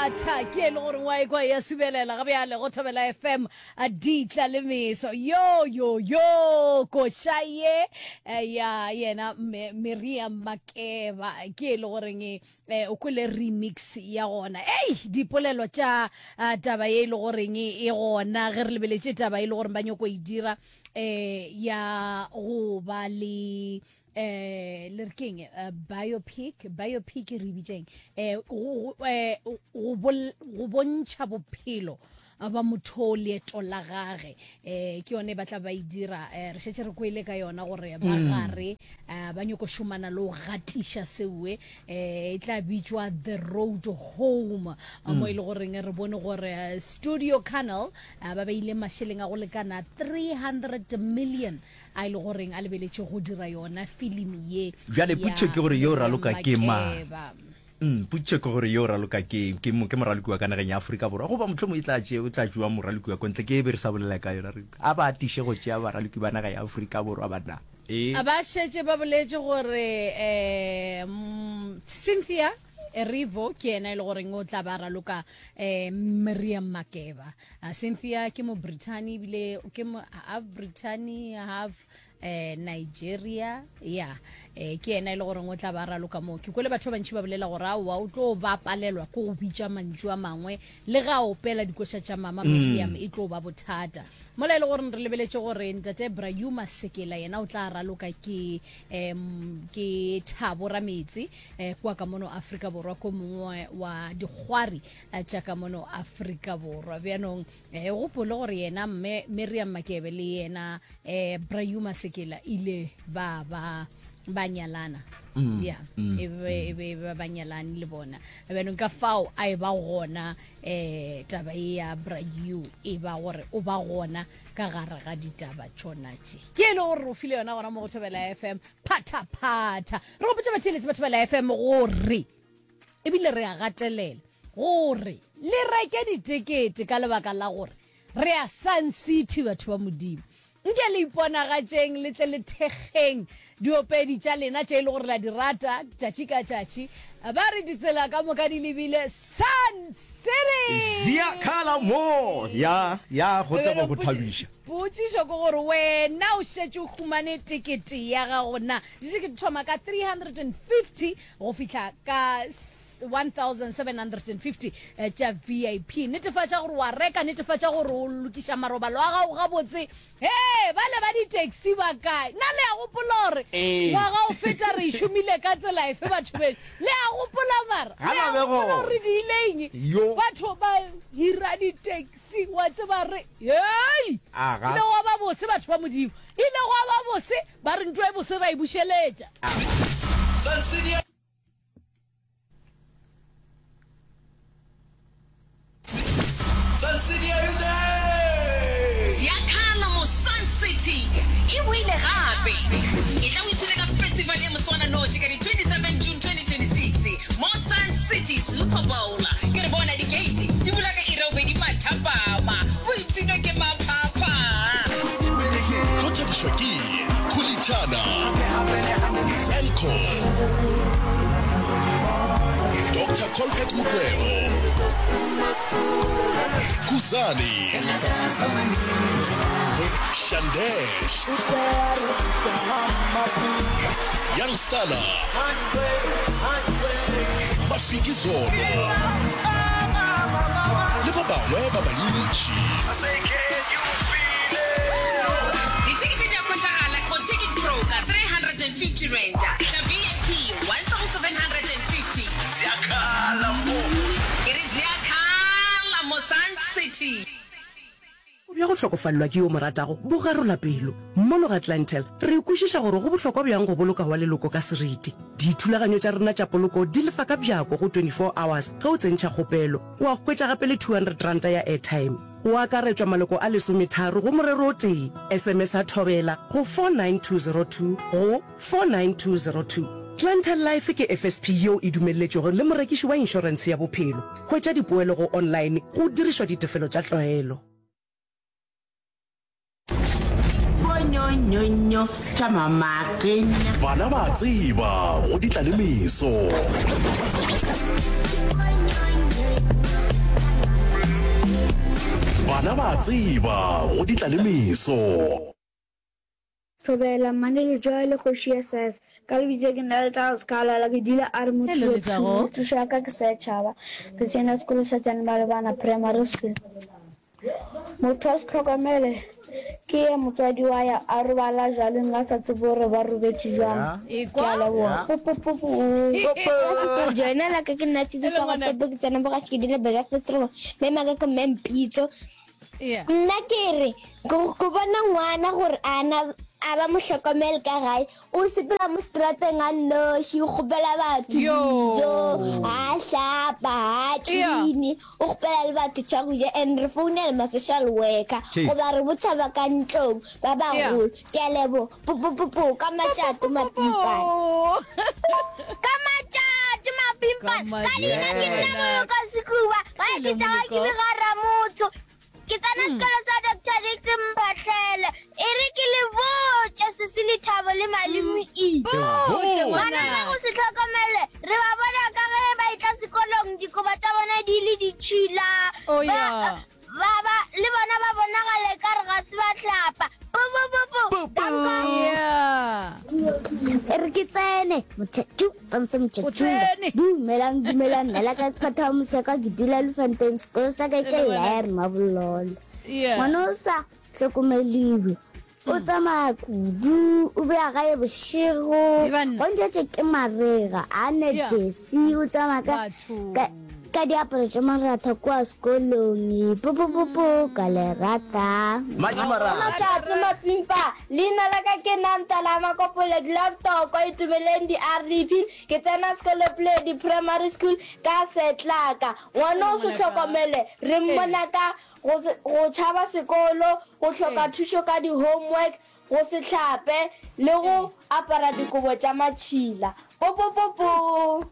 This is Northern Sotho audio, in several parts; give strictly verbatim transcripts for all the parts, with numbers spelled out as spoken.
Phatha ke e le gore wa ekwa ya subelela ga bjale go Thobela F M a ditla le meso yo yo yo koša ye eh, ya yena Miriam Makeba ke e le goreng eh, o kwele remix ya gona. Ei, dipolelo tša ah, taba ye e le goreng e gona ge re lebeletše taba e le goreng ba nyoko e dira eh ya go ba le eh le re keng, eh, biopic biopic re bitseng eh go eh, go go bontšha bophelo ba motho, leeto la gage, eh ke yone ba tla ba e dira. eh, re šetše re kwele ka yona gore ba gare eh, ba nyoko šomana le go gatiša sewe, eh e tla bitšwa The Road Home, mo e le goreng re bone gore eh, Studio Canal eh, ba beile mašeleng a go lekana three hundred million a e le goreng a lebeletše go dira yona filimi ye. Bjale ya potšišo ke gore yo raloka ke mang? Makeba. Mm, potšišo ke gore yo raloka ke ke mo- ke moraloki wa ka nageng ya Afrika Borwa goba mohlomong e tla tše o tla tšewa moraloki wa kontle? Ke e be re sa bolela ka yona, re a ba atiše go tšea baraloki ba naga ya Afrika Borwa banna e A ba šetše ba boletše gore um Cynthia Erivo ke yena e le goreng o tla ba raloka um Miriam Makeba. uh, cynthia ke mo Britain, ebile ke mo half Britain, half eh Nigeria ya eh ke yena e le goreng o tla ba raloka mo. Ke kwele batho ba bantši ba bolela gore aowa, o tlo ba palelwa ke go bitša mantšu a mangwe le ga a opela dikoša tša mama Miriam, e tlo ba bothata. Mola e le gore re lebeletše gore ntate Brauma Sekela yena o tla raloka ke um ke Thabo Rametse eh, kwa ka mono Afrika Borwa, ko mongwe wa dikgwari eh, tša ka mono Afrika Borwa. Bjanong eh, gopole gore yena mme Miriam Makebe le yena eh, Brauma Sekela ile ba ba ba nyalana ya e be e be ba ba nyalane le bona. Bjanong ka fao a e ba gona eh taba e ya Brayu e ba gore o ba gona ka gare ga ditaba tšona tše ke e le gore o file yona gona mo go Thobela F M. Phatha-phatha, re gopotse batheeletše ba Thobela F M gore ebile re a gatelela gore le reke ditekete ka lebaka la gore re ya Sun City. Batho ba Modimo, nke le iponagatšeng, le tle le thekgeng diopedi tša lena tše e le gore la di rata tšatši ka tšatši. Ba re ditsela ka moka di lebile Sun City. Ziyakhala mo ya ya go tla go thabiša. Potšišo ke gore wena o šetše o humane tekete ya gago na? Ditekete thoma ka three hundred and fifty go fihla ka one thousand seven hundred and fifty eh, tša V I P. Netefatša gore wa reka, netefatša gore o lokiša marobalo a gago gabotse. He bale ba di-taxi ba kae na? Le a gopola gore Ee. ngwaga o feta re e šomile ka tsela efe, batho beno? Le a gopola mara? Ga Le a ba be gopola gona. gore di ileng Yo. batho ba hira di-taxi wa tseba re hei Aga. ile gwa ba bose, batho ba Modimo, ile gwa ba bose. Ba re ntho e bose ra e bušeletša. Sun City. Sun City, are you there? Ziyakhala mo Sun City e boile gape. E tla o ipshine ka festival ya moswananoši ka di twenty-seven June twenty twenty-six mo Sun City Super Bowl. Ke re bona di-gate di bula ka iri ya bobedi mathapama, boipshino ke maphapha. Tlo thabišwa ke Khulichana, Elco, Doctor Colbert Mukwevho, Kuzani, Shandesh, Young Stunna, Mafikizolo le ba bangwe ba bantši. Ditekete di a hwetšagala go Ticket Pro ka three hundred and fifty rand, tša V I P one thousand seven hundred and fifty. Ziyakhala mo. Ke re ziyakhala mo Sun City. Bja go hlokofalelwa ke yo mo ratago bo garola pelo. Mono ga Clientele re kwešiša gore go bohlokwa bjang go boloka wa leloko ka seriti. Dithulaganyo tša rena tša poloko di lefa ka bjako go twenty-four hours ge o tsentšha kgopelo, wa hwetša gape le two hundred ranta ya airtime. Go akaretšwa maloko a lesometharo go morero o tee. S M S a Thobela go four nine two zero two go four nine two zero two. Clientele Life ke F S P yeo e dumeletšwego le morekiši wa inšorentshe ya bophelo. Hwetša dipoelo go online go dirišwa ditefelo tša tlwaelo. Bonyonyonyo tša mamakenya. Bana ba tseba go ditla le meso. Bona ba a tseba go di tla le meso. Thobela, Mmane Letšoa le kgoši ya S. Ka lebitso ke nna Letago Sekhalala, ke dula a re Hello, Mothušo Letago. Thušo ya ka ke setšhaba. Ke tsena sekolo sa Tsane Malebana Primary School. Motho a se hlokomele ke ye motswadi wa ya a robala jaleng a sa tsebe gore ba robetše jwang. Ekwa. Ke a leboga. Popopopo. Ka se joina la ka ke nna Tshidi Hello, sa ngwanaka. Popo ke tsena boga ke dile beka festival mme maka ke mme Mpitso. Yeah. Nna ke re go go bona ngwana gore ana a ba mo hlokomele ka gae o sepela mo strateng a nnoši o kgopela batho Yo. dijo a hlapa a Yeah. clean o kgopela le batho tša go ja and re founela ma social worker Jeez. goba re botša ba ka ntlong ba Yeah. bagolo ke a leboga popopopo ka matšato mapimpana Oh. ka matšatši mapimpana Ka ka leina ke nna matšatši. moloko sekuba ga Hello, ke tsaga ke Moloko. bega ramotho ke tsena sekolo sa doctor dix mphatlhele e re ke le botše sese lethabo le malome e Botše bana ba ngwanaka. go se tlhokomele re ba bona ka ge ba etla sekolong dikoba tša bona di le ditšhila Oh, Ba- yeah. ba ba le bona ba bonagale ka re ga se ba hlapa popopopo danko Yeah. e re ke tsene motšhatšu panse O motšhatšu tsene. dumelang dumelang nna la ka phatha moseka ke dula lefanteng sekolo sa ka ke Hello, ngwanaka. laer mabololo Yeah. ngwana o sa hlokomeliwe o tsamaya kudu o beya gae bošego E banna. gontšatše ke marega a ne Yeah. jesi o tsamaya ka Batho. ka ka diaparo tša maratha kua sekolong popopopo ka le rata Matšhimarata. Matšatši mapimpa leina la ka ke nantala makopole dilaptoko itumeleng di-r d p ke tsena sekolo pledi primary school ka setlaka ngwana o se tlhokomele re mmona ka go se- go tšhaba sekolo go hloka thušo ka di-homework go se hlape le go apara dikobo tša matšhila popopopo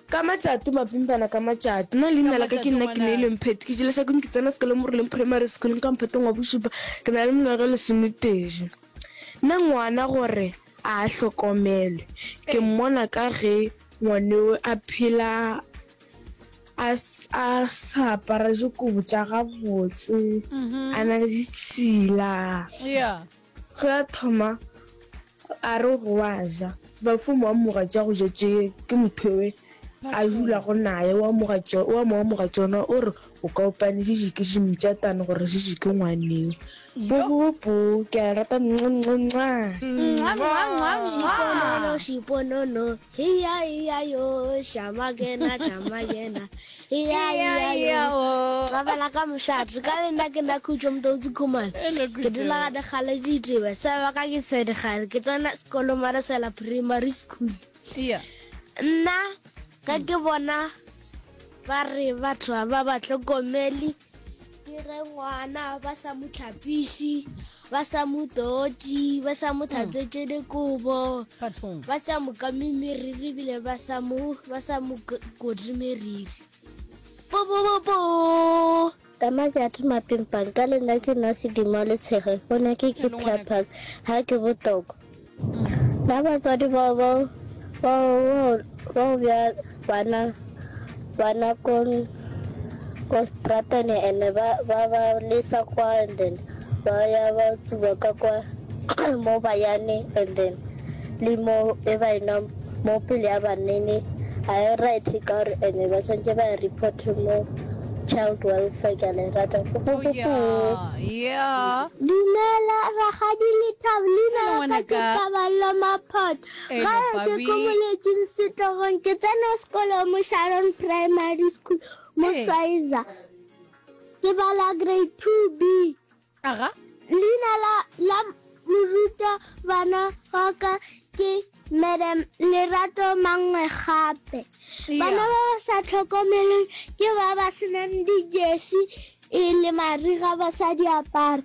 Ka matšato mapimpana ka matšato nna leina la ka ke nna ke neile mpheti ke jele šakong ke tsena sekolo mo Roleng Primary School ka mphatong wa bošupa ke na le mengwaga e lesomepedi nna ngwana gore a hlokomelwe ke mmona ka ge ngwaneo a phela a s- a sa apara dikobo tša gabotse a na le ditšhila Yeah. ge a thoma a re go a ja bafomo wa moga tša go ja tše ke motho ewe a dulago naye wa amoga tšo- wa mo amoga tšona o re o ka opane šiši ke šimtšatane gore šiši ke ngwaneo popopo ke a rata nca Mwah, mwah, mwah, mwah. Šiponono, šiponono, hiya hiya yo, šamakena, šamakena, hiya hiya Yeah, yo. oh. Rabela ka mošate, ka le nna ke nna Khutšo Mototsi Khumalo. Hello, Ke dula Khutšo. ga dikgale ditebe, sa ba ka ke Sedikgale, ke tsena sekolo Marasela Primary School. Yeah. Nna ka ke bona ba re batho ga ba ba hlokomele ke ge ngwana ba sa mo tlhapiše ba sa mo totše ba sa mo tlhatswetše dikobo Bathong. ba sa mo kame meriri ebile ba sa mo ba sa mo ko- kote meriri popopopo Ka matšatši mapimpana ka le nna ke nna Sedimo Letshego fona ke ke Hello, ngwanaka. Purple ha ke botoko nna batswadi bao bao bao bao bja bana bana ko ko stratene ene ba ba ba lesa kwa and then ba ya ba tsuba ka kwa mo bayane and then le mo e ba ena mo pele ya banene ga e right ka gore ene ba tshwanetse ba e report mo child welfare ke a le rata Oh, yeah. Yeah. Dumela rakgadi Lethabo leina Hello, la ka ke ngwanaka. Paballo Maphoto Hello, gae ke Pabi. ko moletsing setlogong ke tsena sekolo mo Sharon Primary School mo Ee. Schweizer ke bala grade two B Aga. leina la la moruta bana wa ka ke madam Lerato Mangwe gape bana Yeah. ba ba sa tlhokomeleng ke ba ba senang dijesi e le mariga ba sa di apara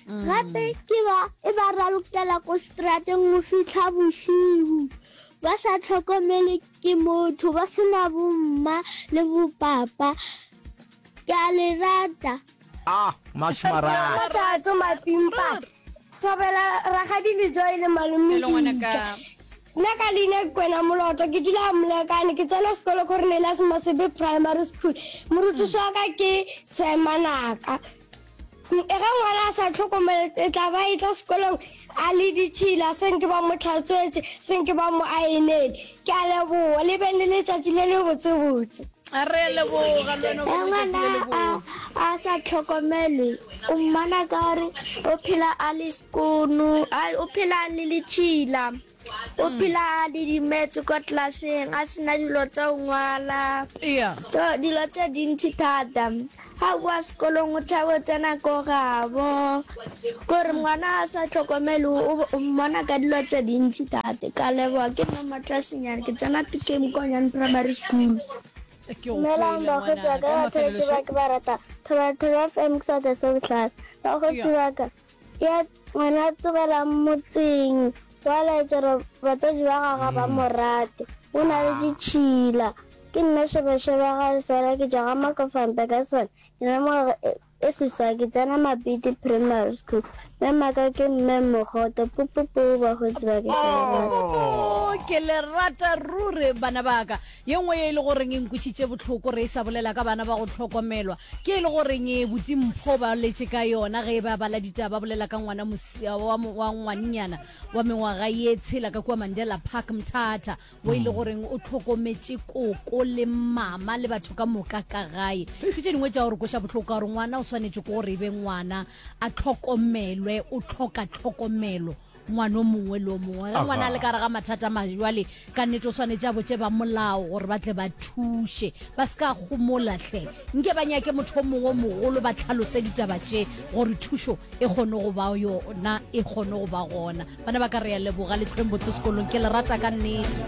gape ke ba e ba ralokela ko strateng go fitlha bošiu ba sa tlhokomele ke motho ba sena bomma le bopapa ke a le rata Ah, matšhimarata. matšatso mapimpa thobela rakgadi lejoe le malome Hello, ngwanaka. Ika. Nna ka leina ke Kwena Moloto, ke dula Molekane, ke tsena sekolo Cornelius Mosebe Primary School. Morutiši wa ka ke Sir Manaka. Ge ngwana a sa hlokomele, e tla ba e tla sekolong a le ditšhila, se nke ba mo hlatswetše, se nke ba mo aenele. Ke a leboga, le beng le letšatši le le botsebotse. Re a leboga, le wena o Ge be le letšatši ngwana le a lebotse. a sa hlokomelwe, o mmona ka gore o phela a le sekono, o phela a le letšhila. O phela a didimetse kwa klaseng, a se na dilo tša go ngwala. To, dilo tše dintši thata. Ga a boa sekolong o tšhaba go tsena ko gabo. Kore ngwana a sa hlokomele o, o mmona ka dilo tše dintši thata. Ka leboga, ke nna Matlasenyane, ke tsena T K Mokonyane Primary School. Ke go Dumelang kwele bakgotsi ba ngwanaka. ka, Wa batheetši mafelelo ba ke ba rata. Thobela Thobela F M ke seatla se bohlale. Bakgotsi ba ka, ya ngwana a tsogelang motseng. Wa laetša gore batswadi ba gagwe ga ba mo rate. O na le ditšhila. Ke nna Šebešebe ga Leswara ke tšwa ga Makofampe ka Swane. Ke na le mengwaga e seswai ke tsena Mapiti Primary School. Mme maka ke Mme Mogoto. Pupupu bakgotsi ba ke ke le rata. Pupupu ke le rata ruri bana ba ka. Ye nngwe ye e le goreng e nkwišitše bohloko re e sa bolela ka bana ba go hlokomelwa ke e le goreng e Buti Mpho ba letše ka yona ge e ba bala ditaba ba bolela ka ngwana wa, wa ngwannyana wa mengwaga ye tshela ka kua Mandela Park Mthatha wo e le goreng o hlokometše koko le mama le batho ka moka ka gae. Ke tše dingwe tša gore kweša bohloko ka gore ngwana o swanetše ke gore e be ngwana a hlokomelwe, o hloka tlhokomelo ngwana o mongwe le o mongwe. Ge ngwana a le ka gare ga mathata majwale ka nnete o swanetše a botše ba molao gore ba tle ba thuše, ba se ka gomola hle. Nke ba nyake motho o mongwe o mogolo ba tlhalose ditaba tše gore thušo e kgone go ba yona, e kgone go ba gona. Bana ba ka re ya leboga le hlweng botse sekolong, ke le rata ka nnete.